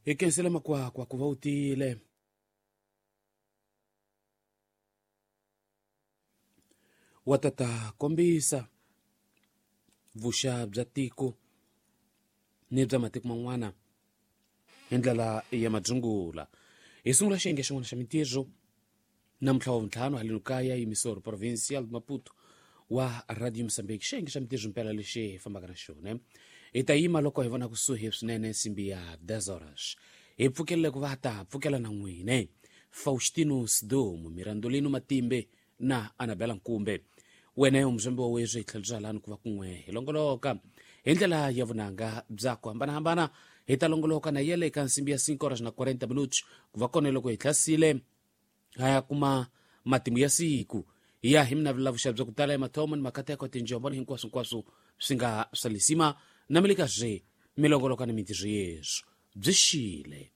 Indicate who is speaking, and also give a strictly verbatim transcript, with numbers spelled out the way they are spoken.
Speaker 1: Hi khensile makwakwa ku va u tile. Wa tata kombisa vuxa bya tiko ni bya matiko man'wana hi ndlela ya madzungula. Hi sungula xiyenge xin'wana xa mintirho namuntlha wa vuntlhanu haleno kaya yimisoro provincial Maputo wa Radio Mozambique. Xiyenge xa mintirho mpela lexi hi fambaka na xona hi ta yima loko hi vona kusuhi swinene nsimbi ya dez horas. Hi pfukelele ku va ta pfukela na n'wine Faustino Sidomu, Mirandolino Matimbe na Anabela Nkumbe. Wena umzombe wa wezwe hi tlhelo bya lani ku va kun'we hi longoloka hi ndlela ya vunanga bya ku hambanahambana. Hi ta longoloka na yele eka nsimbi ya cinco horas na quarenta minutos ku va kona loko hi hlasile ha ya kuma matimu ya siku hi ya hi minavulavusha bya ku tala ya mathomo ni makateko tinjombo ni hinkwaswo hinkwaswo swi nga swa lisima na mi le ka zwe mi longoloka ni mintirho yeswo byi xile.